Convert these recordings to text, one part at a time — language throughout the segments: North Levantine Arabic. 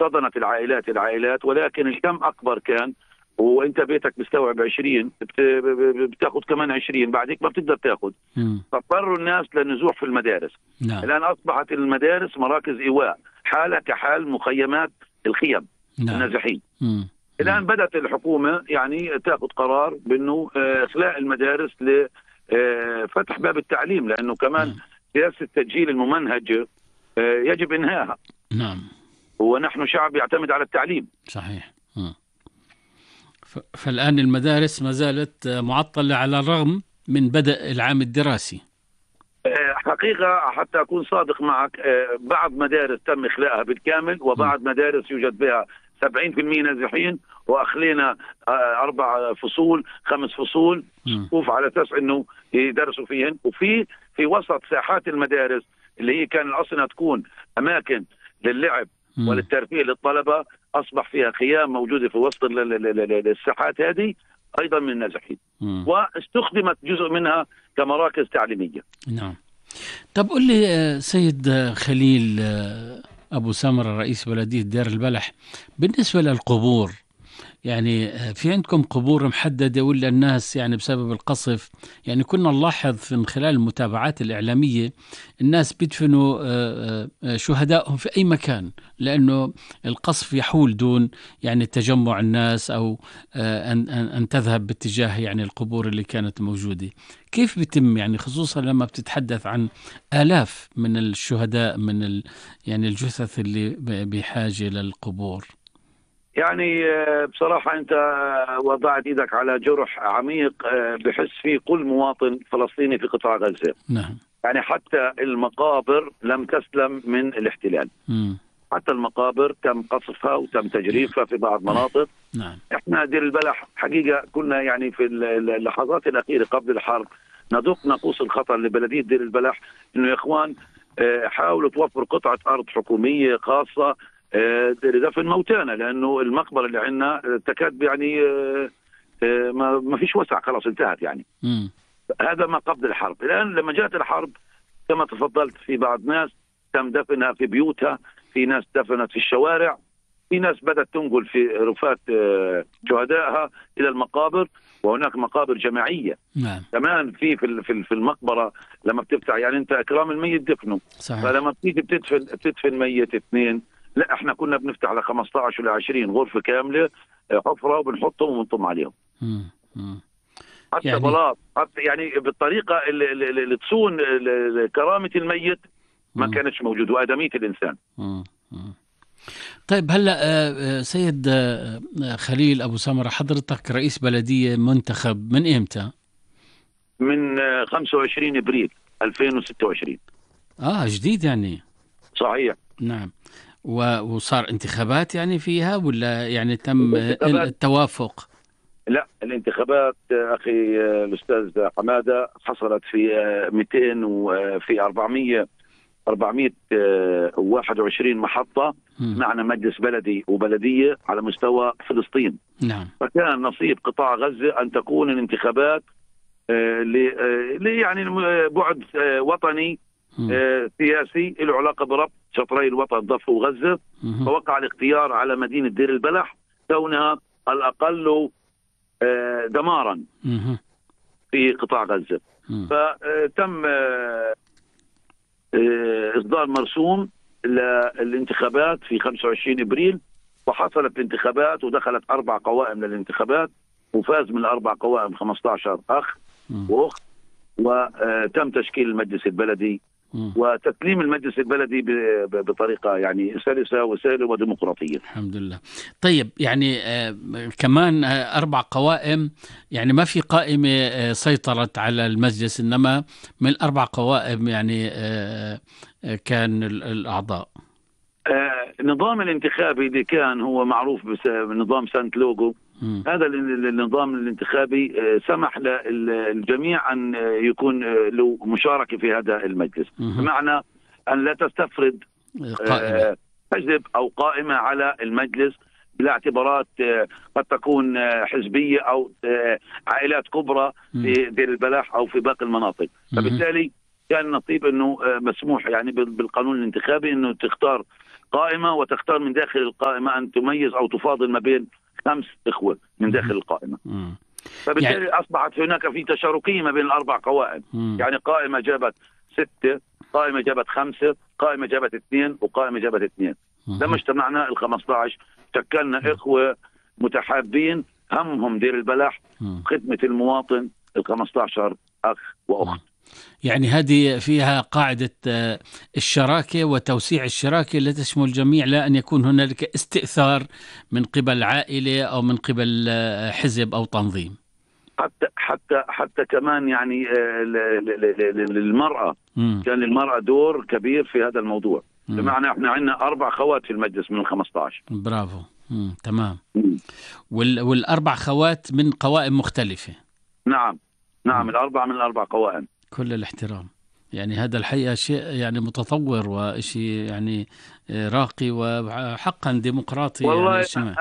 احتضنت العائلات، ولكن الكم أكبر كان. وانت بيتك بيستوعب 20، بتاخذ كمان 20، بعدك ما بتقدر تاخذ. فاضطروا الناس للنزوح في المدارس. نعم. الآن أصبحت المدارس مراكز إيواء، حالة كحال مخيمات الخيم. نعم. النازحين. الآن بدأت الحكومة يعني تأخذ قرار بأنه إخلاء المدارس لفتح باب التعليم، لأنه كمان سياسة التسجيل الممنهج يجب إنهائها. نعم. ونحن شعب يعتمد على التعليم. صحيح. فالآن المدارس ما زالت معطلة على الرغم من بدء العام الدراسي. حقيقة حتى أكون صادق معك، بعض مدارس تم إخلاءها بالكامل، وبعض مدارس يوجد بها 70% نازحين، وأخلينا 4 فصول 5 فصول صفوف على أساس أنه يدرسوا فيهن. وفي وسط ساحات المدارس اللي هي كان الأصل أنها تكون أماكن للعب وللترفيه للطلبة، أصبح فيها خيام موجودة في وسط الساحات هذه أيضا من النازحين، واستخدمت جزء منها كمراكز تعليمية. نعم. طب قل لي سيد خليل أبو سمرة رئيس بلدية دير البلح، بالنسبة للقبور، يعني في عندكم قبور محددة ولا الناس يعني بسبب القصف؟ يعني كنا نلاحظ من خلال المتابعات الإعلامية الناس بيدفنوا شهدائهم في أي مكان، لأنه القصف يحول دون يعني تجمع الناس أو أن تذهب باتجاه يعني القبور اللي كانت موجودة. كيف بيتم يعني خصوصا لما بتتحدث عن آلاف من الشهداء من يعني الجثث اللي بحاجة للقبور؟ يعني بصراحة أنت وضعت إيدك على جرح عميق بحس فيه كل مواطن فلسطيني في قطاع غزة. نعم. يعني حتى المقابر لم تسلم من الاحتلال. حتى المقابر تم قصفها وتم تجريفها في بعض مناطق. نعم. احنا دير البلح حقيقة كنا يعني في اللحظات الأخيرة قبل الحرب ندق ناقوس الخطر لبلدية دير البلح إنه يا إخوان حاولوا توفروا قطعة أرض حكومية خاصة لدفن موتانا، لأنه المقبرة اللي عندنا تكاد يعني ما فيش وسع، خلاص انتهت يعني. هذا ما قبل الحرب. الآن لما جاءت الحرب كما تفضلت، في بعض ناس تم دفنها في بيوتها، في ناس دفنت في الشوارع، في ناس بدأت تنقل في رفات شهدائها إلى المقابر، وهناك مقابر جماعية. نعم. كمان في المقبرة لما بتفتح يعني أنت إكرام الميت دفنه. صحيح. فلما بتيجي بتدفن ميت 2، لا احنا كنا بنفتح على 15 ولا 20 غرفة كاملة حفرة وبنحطهم ونطم عليهم. حتى يعني بلاط، حتى يعني بالطريقة اللي تصون كرامة الميت ما كانتش موجودة، وآدمية الإنسان. طيب هلأ سيد خليل أبو سمرة، حضرتك رئيس بلدية منتخب من إمتى؟ من 25 إبريل 2026. جديد يعني. صحيح. نعم. وصار انتخابات يعني فيها ولا يعني تم التوافق؟ لا، الانتخابات أخي الأستاذ حمادة حصلت في 200 وفي 421 محطة. معنا مجلس بلدي وبلدية على مستوى فلسطين. نعم. فكان نصيب قطاع غزة أن تكون الانتخابات يعني بعد وطني سياسي له علاقة بربط شطري الوطن ضفة وغزة. فوقع الاختيار على مدينة دير البلح كونها الأقل دمارا في قطاع غزة. فتم إصدار مرسوم للانتخابات في 25 إبريل، وحصلت الانتخابات ودخلت 4 قوائم للانتخابات، وفاز من ال4 قوائم 15 أخ وأخت، وتم تشكيل المجلس البلدي وتسليم المجلس البلدي بطريقة يعني سلسة وسهلة وديمقراطية. الحمد لله. طيب يعني كمان 4 قوائم، يعني ما في قائمة سيطرت على المجلس، إنما من 4 قوائم يعني كان الأعضاء. النظام الانتخابي اللي كان هو معروف بنظام سانت لوغو، هذا النظام الانتخابي سمح للجميع أن يكون له مشاركة في هذا المجلس، بمعنى أن لا تستفرد حزب أو قائمة على المجلس بلا اعتبارات قد تكون حزبية أو عائلات كبرى في دير البلح أو في باقي المناطق. فبالتالي كان نصيب أنه مسموح يعني بالقانون الانتخابي أنه تختار قائمة وتختار من داخل القائمة أن تميز أو تفاضل ما بين 5 إخوة من داخل القائمة. فبالتالي أصبحت هناك في تشاركية ما بين الأربع قوائم. يعني قائمة جابت 6، قائمة جابت 5، قائمة جابت 2، وقائمة جابت 2. لما اجتمعنا 15 شكلنا إخوة متحابين همهم دير البلح، خدمة المواطن، 15 أخ وأخت. يعني هذه فيها قاعدة الشراكة وتوسيع الشراكة التي تشمل الجميع، لا أن يكون هنالك استئثار من قبل عائلة أو من قبل حزب أو تنظيم. حتى كمان يعني للمرأة كان للمرأة دور كبير في هذا الموضوع. بمعنى احنا عندنا 4 خوات في المجلس من 15. برافو. تمام. والأربع خوات من قوائم مختلفة. نعم 4 من 4 قوائم. كل الاحترام. يعني هذا الحقيقة شيء يعني متطور وشيء يعني راقي وحقا ديمقراطي. والله يعني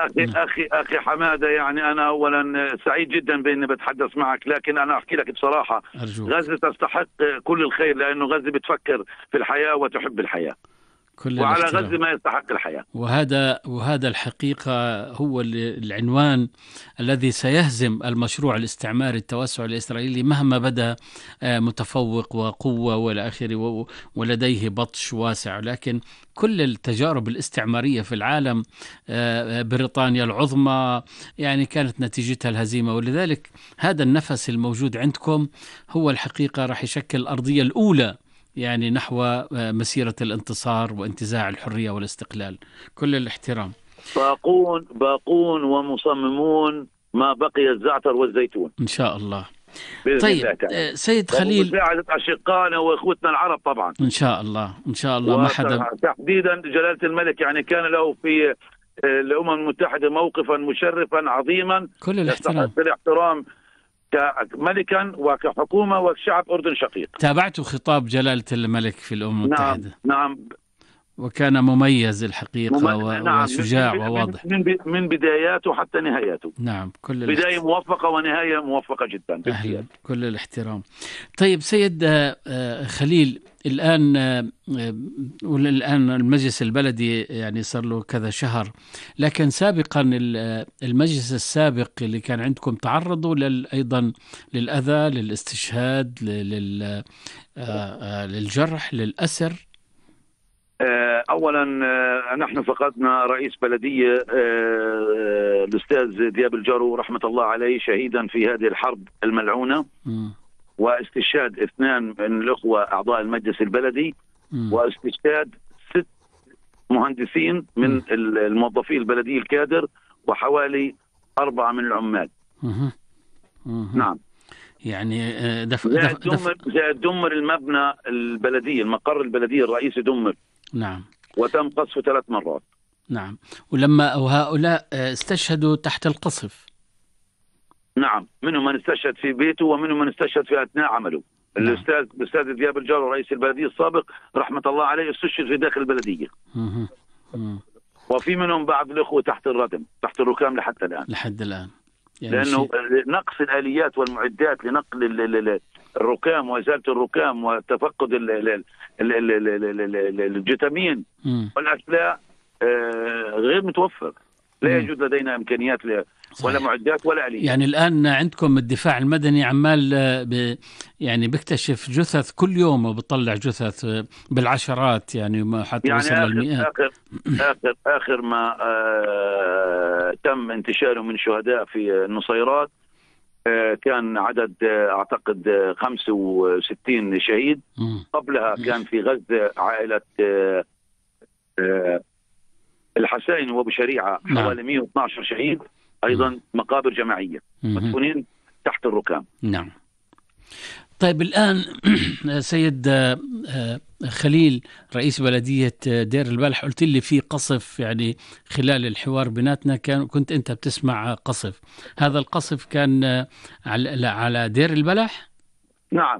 أخي حمادة، يعني أنا أولا سعيد جدا بأني بتحدث معك، لكن أنا أحكي لك بصراحة، غزة تستحق كل الخير، لأنه غزة بتفكر في الحياة وتحب الحياة، وعلى غزة ما يستحق الحياة. وهذا الحقيقة هو العنوان الذي سيهزم المشروع الاستعماري التوسع الإسرائيلي مهما بدا متفوق وقوة والى آخره ولديه بطش واسع. لكن كل التجارب الاستعمارية في العالم، بريطانيا العظمى يعني كانت نتيجتها الهزيمة، ولذلك هذا النفس الموجود عندكم هو الحقيقة راح يشكل الأرضية الأولى يعني نحو مسيرة الانتصار وانتزاع الحرية والاستقلال. كل الاحترام. باقون ومصممون ما بقي الزعتر والزيتون إن شاء الله. طيب سيد خليل، مساعدة أشقائنا وإخوتنا العرب طبعا إن شاء الله ما حدا، تحديدا جلالة الملك يعني كان له في الأمم المتحدة موقفا مشرفا عظيما. كل الاحترام كملكا وكحكومة وكشعب أردن شقيق. تابعت خطاب جلالة الملك في الأمم المتحدة. نعم وكان مميز الحقيقة وشجاع وواضح من بداياته حتى نهاياته. نعم بداية موفقة ونهاية موفقة جدا. أهلا. كل الاحترام. طيب سيد خليل، الآن المجلس البلدي يعني صار له كذا شهر، لكن سابقا المجلس السابق اللي كان عندكم تعرضوا أيضا للأذى، للاستشهاد، للجرح، للأسر. أولا نحن فقدنا رئيس بلدية الأستاذ دياب الجرو رحمة الله عليه شهيدا في هذه الحرب الملعونة، واستشهاد 2 من الأخوة أعضاء المجلس البلدي، واستشهاد 6 مهندسين من الموظفين البلدية الكادر، وحوالي 4 من العمال. نعم. يعني دمر المبنى البلدية، المقر البلدية الرئيسي دمر. نعم. وتم قصفه 3 مرات. نعم. ولما هؤلاء استشهدوا تحت القصف. نعم، منهم من استشهد في بيته ومنهم من استشهد في أثناء عمله. نعم. الأستاذ دياب الجرو رئيس البلدية السابق رحمة الله عليه استشهد في داخل البلدية. وفي منهم بعض الأخوة تحت الردم، تحت الركام لحد الآن. يعني لأنه نقص الآليات والمعدات لنقل الركام وإزالة الركام وتفقد الجثامين والأشلاء غير متوفر. لا يوجد لدينا إمكانيات ولا معدات ولا آليات. يعني الآن عندكم الدفاع المدني عمال يعني بيكتشف جثث كل يوم وبيطلع جثث بالعشرات، يعني حتى يعني وصل للمئات. آخر ما تم انتشاره من شهداء في النصيرات كان عدد أعتقد 65 شهيد. قبلها كان في غزة عائلة الحسائن وابو شريعة حوالي 112 شهيد، أيضا مقابر جماعية مدفونين تحت الركام. نعم. طيب الآن سيد خليل رئيس بلدية دير البلح، قلت لي في قصف يعني خلال الحوار بيناتنا، كنت أنت بتسمع قصف. هذا القصف كان على دير البلح؟ نعم،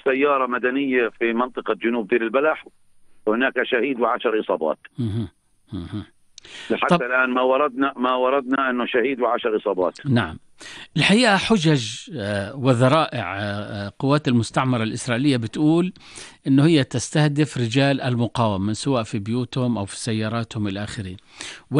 سيارة مدنية في منطقة جنوب دير البلح، وهناك شهيد و10 إصابات. لحتى الآن ما وردنا أنه شهيد و10 إصابات. نعم. الحقيقة حجج وذرائع قوات المستعمرة الإسرائيلية بتقول إنه هي تستهدف رجال المقاومة سواء في بيوتهم أو في سياراتهم إلى آخره.